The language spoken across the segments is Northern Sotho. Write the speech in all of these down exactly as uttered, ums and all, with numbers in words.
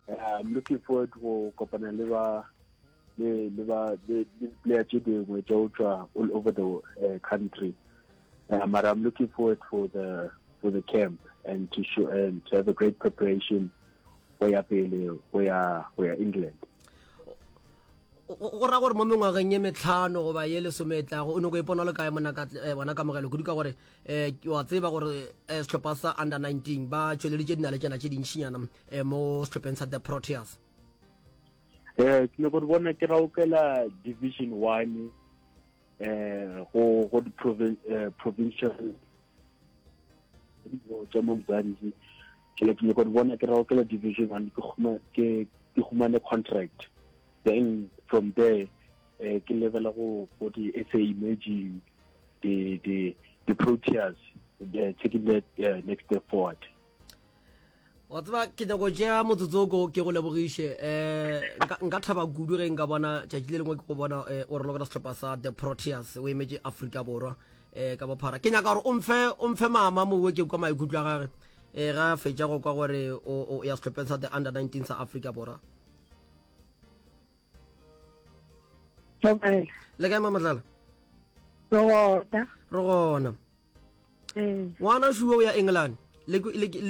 I'm looking forward go kopana le ba le le ba le player tše dingwe tša go tšwa all over the uh, country. Uh, but I'm looking forward for the for the camp and to show and to have a great preparation go ya pele go ya go ya England. Go ra gore mo mengwageng ye metlhano goba ye lesome e tlago o nyako ipona le kae mona ka eh, bona kamogelo kudu ka gore um wa tseba gore eh, sehlopha sa under nineteen ba tšweleditše dinaletšana tše dintšinyana um mo sehlopheng sa the Proteas. Eh ke nyako bona ke raokela division one eh go go di provincial tša mo Mzansi. Ke ke nyako bona ke raokela division one, ke ke ke humane contract, then from there eh ke level go go di S A Emerging, the the the Proteas, the taking that uh, next step forward. Wa tseba ke nyako tšea motsotsoko ke go lebogiše, um nka thaba kudu ge nka bona tšatši le lengwe ke go bona o re lokela sehlopha sa the Proteas o emetše Afrika Borwa um ka bophara. Ke nyaka gore o mfe o mfe mama mowe ke kwa maikutlo a gage um ga fetša go kwa gore o ya sehlopheng sa the under nineteen sa Afrika Borwa. Le kae Mamatlala? Re gona. Ngwana šuo o ya England, le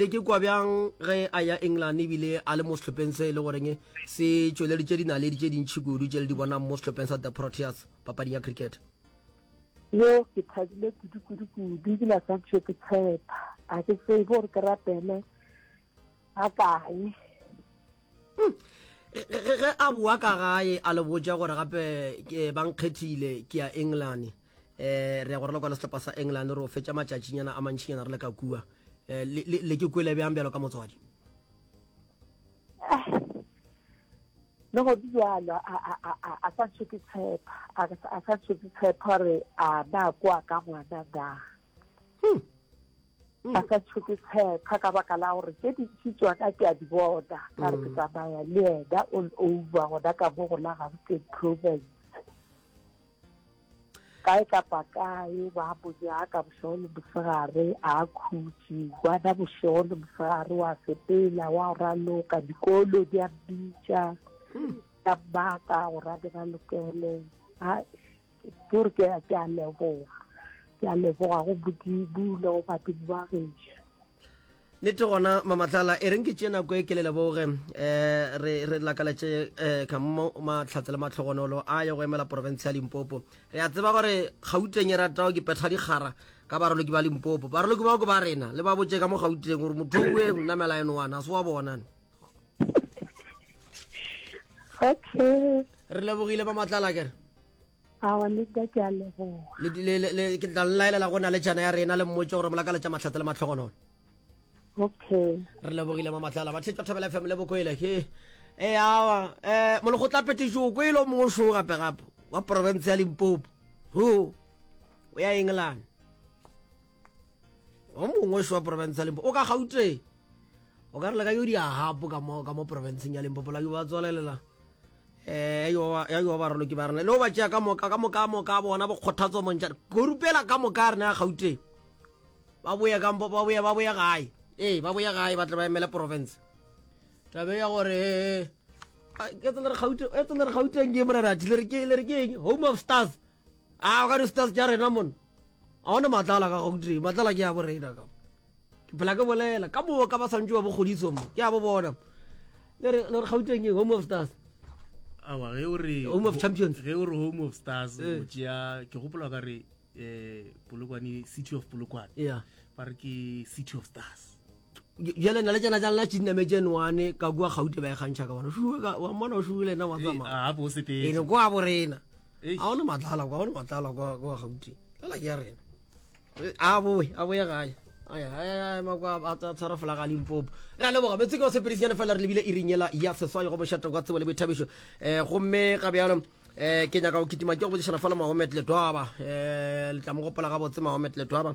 ke kwa bjang ge a ya England ebile a le mo sehlopheng se e le goreng se tšweleditše dinaledi tše dintšhi kudu tše le di bonang mo sehlopheng sa the Proteas papading ya cricket? Yo ke thabile kudu kudu kudu, ebile a santšhe ke tshepa, a ke tsebe gore ke rapele ga kae. Ge a boa ka gae a le botša gore gape ke ba nkgethile ke ya England, um re ya go raloka le sehlopha sa England, re o fetša matšatšinyana a mantšinyana re le ka kua, le ke kwele bjang bjalo ka motswadi? Le go bjalo a sa ntšhe ke tshepa, a sa ntšhe ke tshepa gore a na kwa ka ngwana na. A sa ntšhe ke tshepa ka baka la gore tše dintši tsona ke a di bona, ka re ke tsamaya le yena all over gona ka mo go la Gauteng province. Kae kapa kae ba mo nyaka bošego le mosegare, a khutše ngwana bošego le mosegare, wa sepela wa raloka, dikolo di a mmitša ka mmaka gore a di ralokele. Ke gore ke a leboga, ke a leboga go Modimo le go badimo ba gešo. Nnete gona Mamatlala, e reng ke tše nako e ke le leboge, um re re lakaletše um ka mo mahlatse le matlhogonolo a ye go emela province ya Limpopo. Re a tseba gore Gauteng e rata ke petha dikgara ka baraloki ba Limpopo, baraloki bao ke ba rena, le ba botše ka mo Gauteng gore motho o e namela eno wana a se wa bona. Okay, re lebogile Mamatlala kere. Awa le nna ke a leboga. Ke tla laelela go na le tšana ya rena le mmotse gore molakaletša mahlatse le matlhogonolo. Okay, re lebogile Mamatlala. Bathetša Thobela F M le bokwele ke e awa eh molekgotla petišo o kwele o mongwe šo gape gape wa province ya Limpopo ho o ya England, o mongwe šo wa province ya Limpopo o ka Gauteng, o ka re le ka yo di ahapo ka mo ka mo provinceng ya Limpopo la yo ba tswalelela eh yo ya yo ba raloki ba rena le o ba tšea ka moka ka moka moka bona bo kgothatso montšana korupela ka moka rena ya Gauteng ba boya ka ba boya ba boya gae, ee ba boya gae ba tle ba emele province. Tabe ya gore ke tsela re Gauteng e tsela re Gauteng ke morena le re ke le re ke eng home of stars, a ka di stars tša rena mona a ona matlala ka Gauteng, matlala ke ya bo rena ka ke phela ke bolela ka mo ka ba santse ba bokgodiso mo ke a bo bona le re le re Gauteng ke home of stars. Awa ge o re home of champions, ge o re home of stars o tšea ke gopola ka re eh Polokwane, City of Polokwane, yeah ba re ke City of Stars. Bjale na le tšena tša lena tšinametse nwane ka kua Gauteng ba e kgantšha ka bona wa mmona o šuile na wa tsamaya a bo sepetse ene kwa bo rena a ona matlala kwa ona matlala kwa kwa Gauteng tlala ke ya rena a boe a boe gae aya aya makwa a tshwara folaga Limpopo. Re a leboga metse ke wa sepedisinyana fela re lebile iring yela ya seswai go mošate kwa tsebo le boithabišo um gomme ga bjalo um ke nyaka go kitima ke go botšišana fela Mahomet Letwaba, um le tla mo gopola gabotse Mahomet Letwaba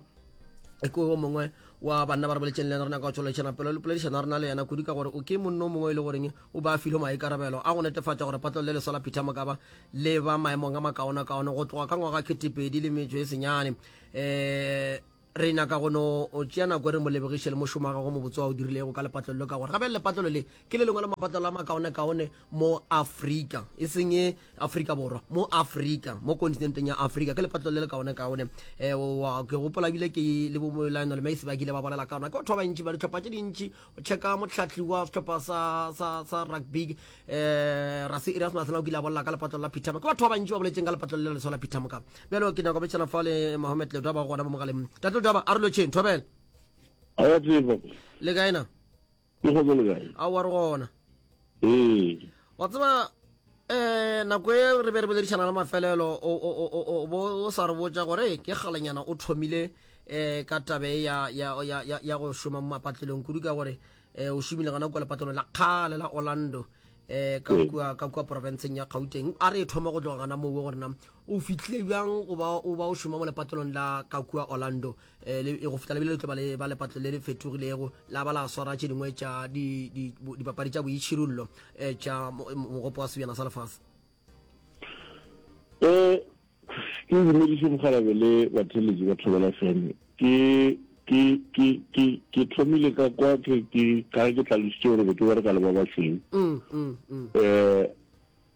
ke o mongwe wa banna ba re boletšeng le yena, re nyaka go tšweletšana pelo le poledišano ya rena le yena kudu ka gore o ke monno o mongwe e le goreng o ba filwe maikarabelo a go netefatša gore patlelo le leswa la Peter Mokaba le ba maemong a makaonakaone go tloga ka ngwaga ketepedi le metšo e senyane. Um Re nyaka go no tšea nako re mo lebogiše le mošomo wa gagwe mobotse wa o dirilego ka lepatlelo le, ka gore gape lepatlelo le ke le lengwe la mapatlelo a makaonekaone mo Afrika, e seng e Afrika Borwa, mo Afrika, mo kontinenteng ya Afrika, ke lepatlelo le le kaonekaone. Um ke gopola ebile ke le bo Lionel Messi ba kile ba bolela ka ona. Ke batho ba bantši ba dihlopha tše dintši, o checka mohlahli wa sehlopha sa, sa, sa rugby um Rassie Erasmus o kile a bolela ka lepatlelo la Peter. Ke batho ba bantši ba boletseng ka lepatlelo le leswa la Peter Mokaba. Bjalo ke nyaka go betšana fa le Mohammed Ledwaba gona mo mogaleng. Tate Ledwaba, a re lotšheng, thobela. A ya tseba. Le kae na? Ke go le kae? A wa re gona. Ee. Wa tseba eh nako e re be re boledišana le mafelelo o o o o bo o sa re botša gore ke kgalenyana o thomile eh ka tabe ya ya ya ya, ya go šoma mo mapatlelong kudu ka gore eh o šomile gona kwa lepatlelong la kgale la Orlando eh ka kua ka kua provinceng ya Gauteng. A re e thoma go tloga gana moo gore na o fihlile bjang go ba o ba o šoma mo lepatlelong la ka kua Orlando eh le go fihla lebile le tlo ba le ba lepatlelo le le fetogilego la ba la swara tše dingwe tša di di dipapadi tša boitšhirullo eh tša mogopo wa sebjana sa lefase. Eh ke dumediše mogalabe le batheletši ba Thobela F M. Ke ke ke ke ke thomile ka kwa ke ke ka ke tlhalositše gore be ke bereka le ba bašweu. Mm, mm, mm. Eh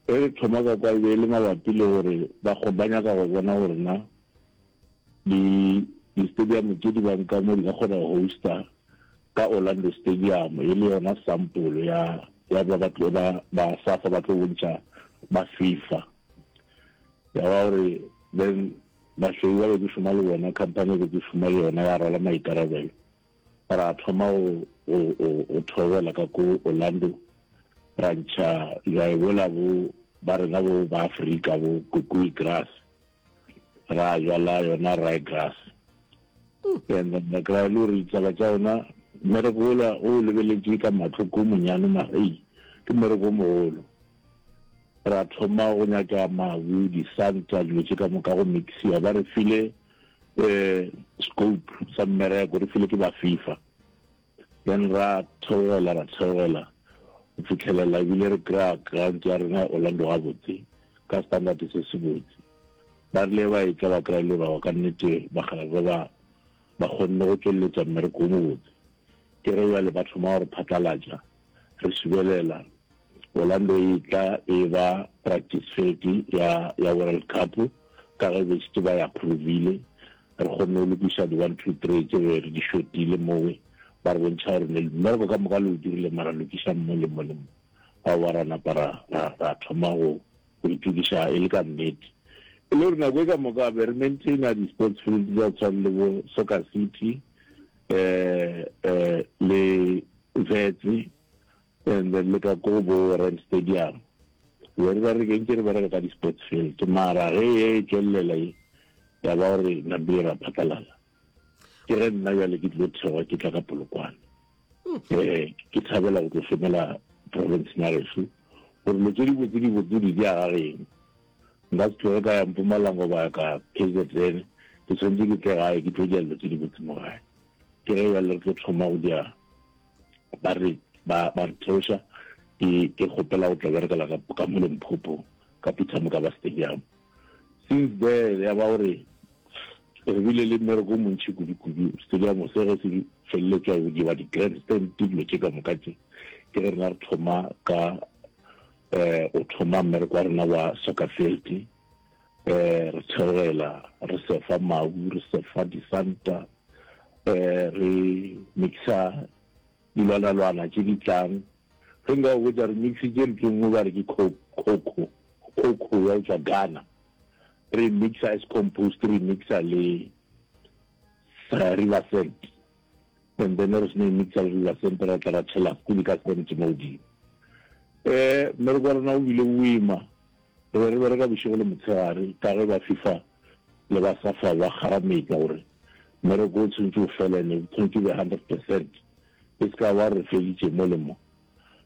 re thoma ka kwa e be e le mabapi le gore ba go ba nyaka go bona gore na di di-stadium tše di bang ka mo di ka kgona go hosta ka Orlando Stadium e le yona sample ya ya ba ba tlo ba ba SAFA ba tlo bontšha ba FIFA. Ya ba gore then bašweu ba be ke šoma le bona, company be ke šoma le yona ya rwala maikarabelo. Ra thoma go go go thobela ka ko Orlando, ra ntšha jwae bola bo ba rena bo ba Afrika bo kukui grass, ra jwala yona rye grass. And then re kry-a le gore ditaba tša yona mmereko ola o lebeletše ka mahlo ko monyane mara ei ke mmereko o mogolo. Ra thoma go nyaka mabu, disanta, dilo tše ka moka go mixiwa. Ba re file um scope sa mmereko, re file ke ba FIFA. Then ra theogela ra theogela go fitlhelela ebile re kry-a grant ya rena Orlando gabotse ka standard se se botse. Ba rile ba etla ba kry-a le gore ka nnete bakgalabje ba ba kgonne go tšweletša mmereko o mobotse. Ke ge bjale ba thoma gore phatlalatša re subelela Orlando e tla e ba practice field ya ya World Cup ka ge be šetše ba e approvile. Re kgonne go lokiša di one two three tše be re di shotile mowe, ba re bontšha gore mmereko ka moka le o dirile mara lokišang mo le mo le mo. Aowa ra napa ra ra thoma go go itokiša e le ka nnete. E le gore nako e ka moka be re maintaina di-sports field tša tshwana le bo Soccer City eh eh le Vetse and then le ka ko bo Rand Stadium. Be re bereke ntše re bereka ka di-sports field mara ge e tšwelela e ya ba gore nambile ra phatlalala. Ke ge nna bjale ke tlilo theoga ke tla ka Polokwane. Eh ke thabela go tlo šomela province ya gešo gore dilo tše dibotse dibotse di di aga geng. Nka se tloge ka ya Mpumalanga goba ka K Z N, ke tshwanetse ke tle gae ke tlo dia dilo tše dibotse mo gae. Ke ge bjale re tlo thoma go dia ba re ba ba re theoša ke ke kgopela go tla berekela ka ka mo Limpopo ka Peter Mokaba Stadium. Since there ya ba gore re bile le mmereko o montši kudu-kudu. Stadium se ge se feleletšwa go diwa di-grandstand dilo tše ka moka tše, ke ge rena re thoma ka eh o thoma mmereko wa rena wa soccer field. Eh re theogela re sefa mabu, re sefa disanta, eh re mixa dilwanalwana tše di tlang. Ge nka go botša re mixitše ntho e nngwe ba re ke coco, coco ya go tšwa Ghana. Re mixa as compost, re mixa le river sand. And then re seno mixa le river sand ra tla ra tšhela kuli ka sand mo godimo. Eh mmereko wa rena o bile boima. Re be re bereka bošego le motshegare ka ge ba FIFA le ba SAFA ba kgarametsa gore mmereko o tshwanetse o felene, o tshwanetse o be hundred percent. E se ka wa re feditše mo le mo.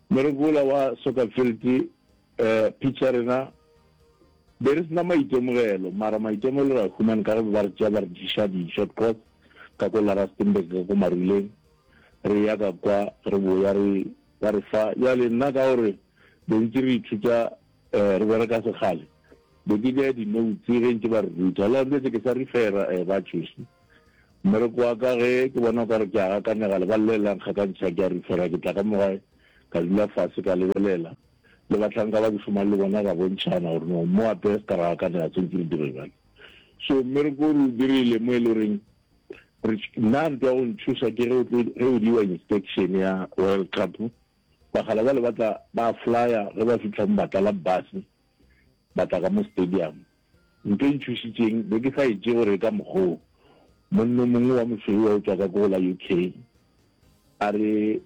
Mmereko ola wa soccer field eh pitch ya rena be re sena maitemogelo, mara maitemogelo ra humane ka ge ba re tšea ba re diša di-short course ka ko la Rustenburg ka ko Maruleng. Re ya ka kwa re boya re ba re fa. Bjale nna ka gore be ntse re ithuta eh re bereka sekgale, be ke dira di-notes ge ntse ba re ruta. Le ntse ke sa refera eh ba tšosi Mmereko wa ka ge ke bona o ka re ke a gakanega lebala le la nkgakantšha ke a refera ke tla ka mo gae ka dula fase ka lebelela le bahlanka ba ke šomang le bona ra bontšhana gore no mo ape se ka ra gakanega tshwanetse re dire bjale. So mmereko o re o dirile mo e le goreng re nna ntwa go ntšhoša ke ge o tlo ge o diwa inspection ya World Cup bagala bale ba tla ba flya ge ba fihla mo ba tlala bus ba tla ka mo stadium. Ntho e ntšhošitšeng be ke sa e tšee gore e ka mokgoo monno mongwe wa mosweu wa o tšwa ka ko go la U K a re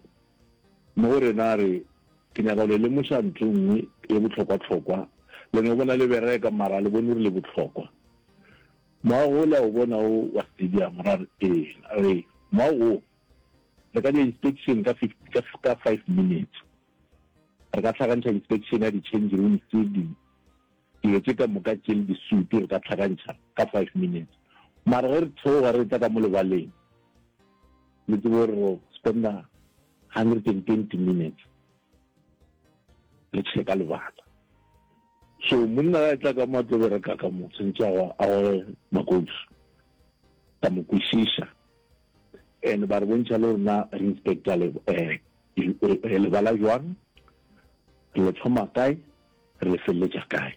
mo go rena a re ke nyaka go le lemoša ntho e nngwe e bohlokwa-hlokwa le no bona le bereka mara le bone gore le bohlokwa. Moago o le a o bona o wa stadium ra re ee a re moago o re ka dira inspection ka ka, ka five minutes re ka hlakantšha inspection ya di-change rooms di dilo tše ka moka tše le disutu re ka hlakantšha ka five minutes mara ge re theoga re tla ka mo lebaleng le tsebe gore ro spenda hundred and twenty minutes re checka lebala. So monna ga e tla ka mo a tlo bereka ka mo tshwanetse a goge makousu ka mo kwešiša and ba re bontšha le rena re inspector le eh, lebala jwang re le thoma kae re le feleletša kae.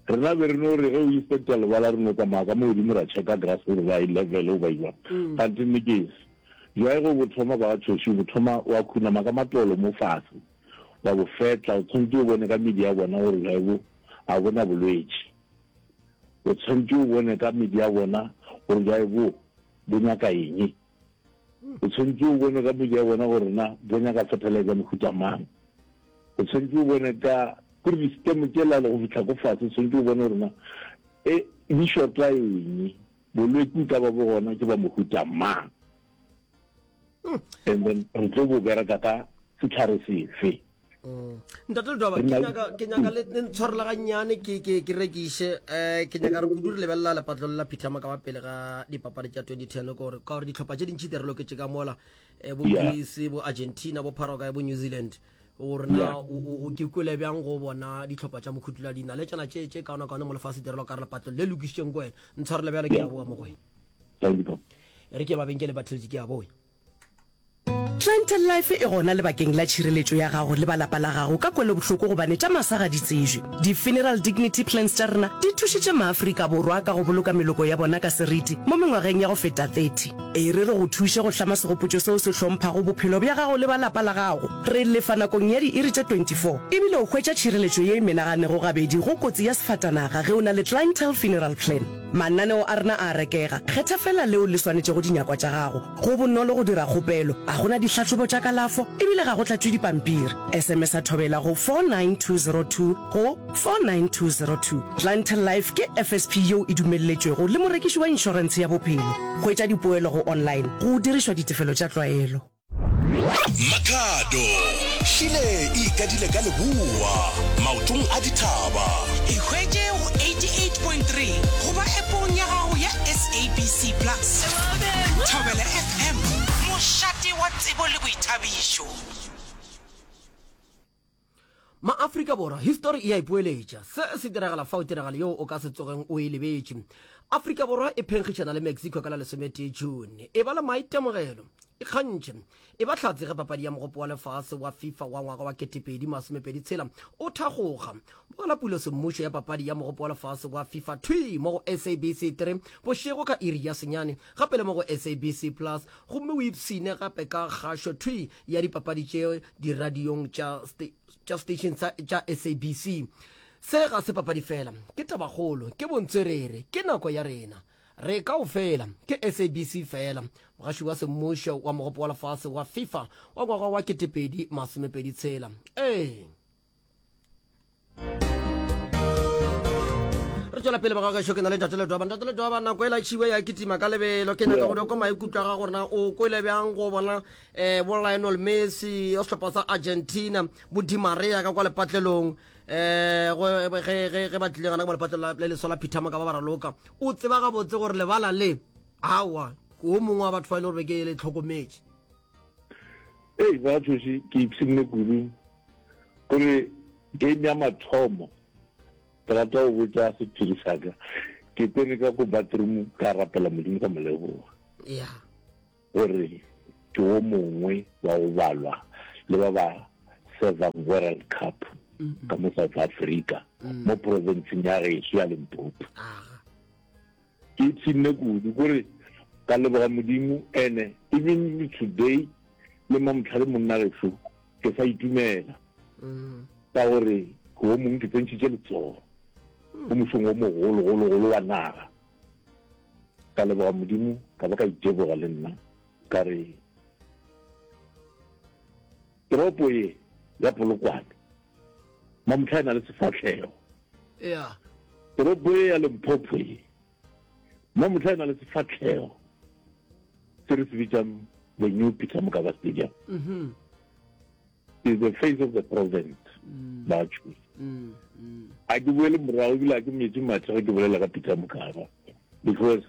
Rena be re no re ge o inspector lebala re no tsamaya ka mo godimo ra checka grass gore ba e level o ba jwang kgante nne ke ese jwae ge bo thoma ba ga tšhoši bo thoma wa khunama ka matolo mo fase wa bo fetla o tshwanetse o bone ka medi ya bona gore jwae bo a bona bolwetši o tshwanetse o bone ka medi ya bona gore jwae bo bo nyaka eng o tshwanetse o bone ka medi ya bona gore na bo nyaka fertilizer mohuta mang o tshwanetse o bone ka kore di-stem tšela le go fihla ko fase o tshwanetse o bone gore na e di shorta eng bolwetši ka ba bo gona ke ba mohuta mang and then re tlo bo bereka ka setlhare sefe. Ntate Ledwaba, ke nyaka ke nyaka le ntshwarela gannyane ke ke ke rekiše eh ke nyaka re kudu re lebelela lepatlo la Peter Mokaba pele ga dipapadi tša twenty ten gore ka gore dihlopha tše dintši di re loketše ka mola eh, bo Greece bo Argentina bo Paraguay bo New Zealand gore na o ke kwele bjang go bona dihlopha tša mokhutula di na le tšana tše tše kaona kaone mo lefase di re loka re lepatlo le lokišitšeng ko wena ntshwarele bjale ke a boa mo go wena re ke mabenkele ba theletše ke a boya. Clientele Life e gona lebakeng la tšhireletšo ya gago le ba lapa la gago ka kwelobohloko gobane tša masa ga di tsejwe. Di-Funeral Dignity Plans tša rena di thušitše maAfrika Borwa ka go boloka meloko ya bona ka seriti mo mengwageng ya go feta thirty. E re re go thuše go hlama segopotšo seo se hlomphago bophelo bja gago le ba lapa la gago. Re lefa nakong ya diiri tše twenty-four ebile o hwetša tšhireletšo ye e menaganego gabedi go kotsi ya sefatanaga ge o na le Clientele Funeral Plan. Mananeo a rena a a rekega, kgetha feela leo le swanetšego dinyakwa tša gago. Go bonolo go dira kgopelo, ga go na dihlahlobo tša kalafo ebile ga go tlatšwe dipampiri. S M S a thobela go four nine two zero two go four nine two zero two. Clientele Life ke F S P yeo e dumelletšwego le morekiši wa inšorentshe ya bophelo. Hwetša dipoelo go online go dirišwa ditefelo tša tlwaelo. Makhado, Šile e ikadile ka leboa, maotong a dithaba. Ikhwetše go eighty-eight point three goba appong ya gago ya S A B C Plus. Thobela F M, mošate wa tsebo le boithabišo. Ma-Afrika Borwa, histori e a ipoeletša. Se se diragala fao tiragalo yeo o ka se tsogeng o e lebetše. Afrika Borwa e phenkgišana le Mexico ka la lesometee June. E ba le maitemogelo, ikgantšhe, e ba hlatse ge papadi ya Mogopo wa Lefase wa FIFA wa ngwaga wa ketepedi masomepedi tshela o thakgoga. Bogela pulo semmušo ya papadi ya Mogopo wa Lefase wa FIFA thwi mo go S A B C three bošego ka iri ya senyane, gape le mo go S A B C Plus, gomme o ipshine gape ka kgašo thwi ya dipapadi tše diradiong tša tša station tša S A B C. Se ga se papadi fela, ke tabakgolo, ke bontswerere, ke nako ya rena. Re kaofela, ke S A B C fela, mogaši wa semmušo wa Mogopo wa Lefase wa FIFA wa ngwaga wa ketepedi masomepedi tshela. Ee. Re tšwela pele bagagešo, ke na le Ntate Ledwaba. Ntate Ledwaba, nako e latšhiwe ya kitima ka lebelo. Ke nyaka go kwa maikutlo a gago gore na o kwele bjang go bona eh, bo Lionel Messi ya sehlopha sa Argentina, bo Di Maria ka kwa lepatlelong eh ge ge ge ba tlile gana ka lepatlelo le leswa la Peter Mokaba ba raloka. O tseba gabotse gore lebala le awa o mongwe wa batho ba e le gore ke le tlhokometše. Ei ba tšhoši ke ipshinne kudu gore game ya mathomo ke rata go botša sephiri sa ka. Ke Ke tsene ka ko bathroom ka rapela Modimo ka mo leboga. Yeah. Gore ke wo mongwe wa go balwa le ba ba servang World Cup ka mo South Africa mm. mo provinceng ya gešo ya Limpopo. Ke ipshinne kudu kore ka leboga Modimo ene even today le mamotlha le monna gešo ke sa itumela mm. ka gore ke wo mongwe ke tsentšhitše letsogo mo mošong wo mogologologolo wa naga. Ka leboga Modimo ka ba ka iteboga le nna ka re toropo ye ya Polokwane mamotlha e na le sefahlego. Yeah. Toropo ye ya Limpopo ye mamotlha e na le sefahlego se re se bitsang the new Peter Mokaba Stadium. Mm -hmm. Is the face of the province. Mm. Ba choose. Mm. Mm. A ke boele morago ebile a ke metsi mathe ge ke bolela ka Peter Mokaba because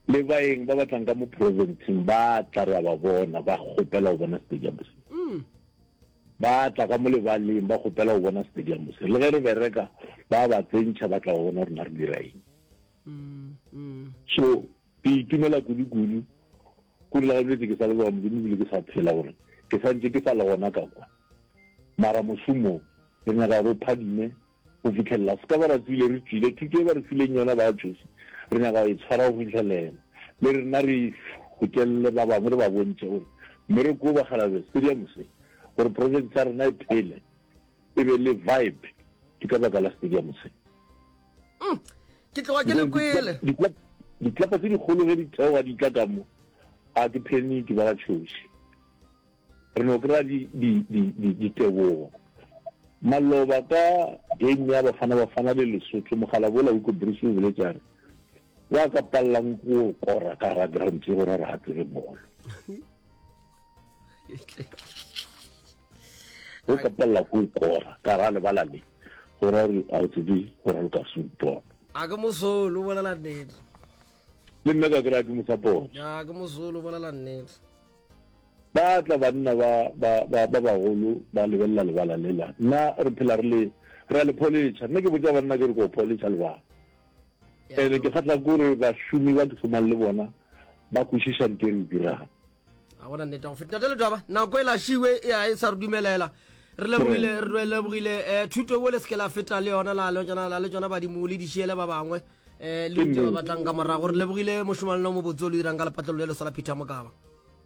le baeng ba batlang ka mo provinceng ba tla re a ba bona ba kgopela go bona stadium se. Mm. Ba tla ka mo lebaleng ba kgopela go bona stadium se. Le ge re bereka ba ba tsentšha ba tla go bona rena re dira eng. Mm. Mm. So ke itumela kudu-kudu kudu la gabetse ke sa leboga Modimo ebile ke sa phela gore ke santse ke sa le gona ka kwa. Mara mošomo re nyaka gore o phadime go fitlhelela se ka ba ra tswile re tswile thuto e ba re fileng yona ba tšosi re nyaka go e tshwara go fitlhelela le rena re gokelele ba bangwe re ba bontšhe gore mmereko o bakgalabe stadium se gore province ya rena e phele e be le vibe ke ka baka la stadium se. Mm. Ke tloga ke le kwele. Ditlapa tse dikgolo ge di theoga di tla ka mo a ke panic ba ga tšhoši. Re no kry-a ditebogo. Maloba ka game ya Bafana Bafana le Lesotho mogala bola Hugo Broos o boletse a re wa ka pallang go kora ka ra ground tse gore re a tsebe bolo. O ka palela go kora ka ra lebala le gore re a o tsebe go raloka football. A ke mosolo o bolela nnete. Le nna ka kry-a ke mo support. Ya ke mosolo o bolela nnete. Ba tla banna ba ba ba ba bagolo ba lebelela lebala lela. Nna re phela re le re a le pholetšha. Nna ke botša banna ke re ko pholetšha lebala. Ene ke kgatla kore bašomi ba ke šomang le bona ba kwešiša nto e re dirang. A gona nnete go feta. Ntate Letwaba, nako e lašiwe ya e sa re dumelela. Re lebogile re lebogile eh thuto bo le se ke la feta le yona la le tsona la le tsona badimo le di šiele ba bangwe eh le rute ba batlang ka morago. Re lebogile mošomalelo mo botse o le dirang ka lepatlelo le le sa la Peter Mokaba.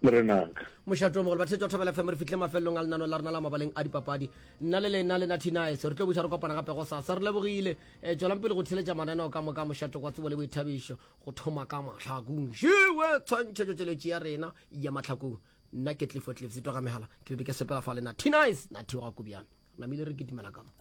Morenaka. Mošato o mogolo, batheetši ba Thobela F M, re fihlile mafelelong a lenaneo la rena la mabaleng a dipapadi. Nna le lena le Nathi Nice re tlo buša re kopana gape gosasa. Re lebogile. Eh, tšwelang pele go theeletša mananeo ka moka a mošato kwa tsebo le boithabišo go thoma ka Mahlakong. Šiwe tshwantšhetšo tšeletši ya rena ya Mahlakong. Nna ke Clifford Cliffs, twa ga megala. Ke be ke sepela fa le Nathi Nice, Nathi wa ga Kobiane. Re namile re kitimela ka mo.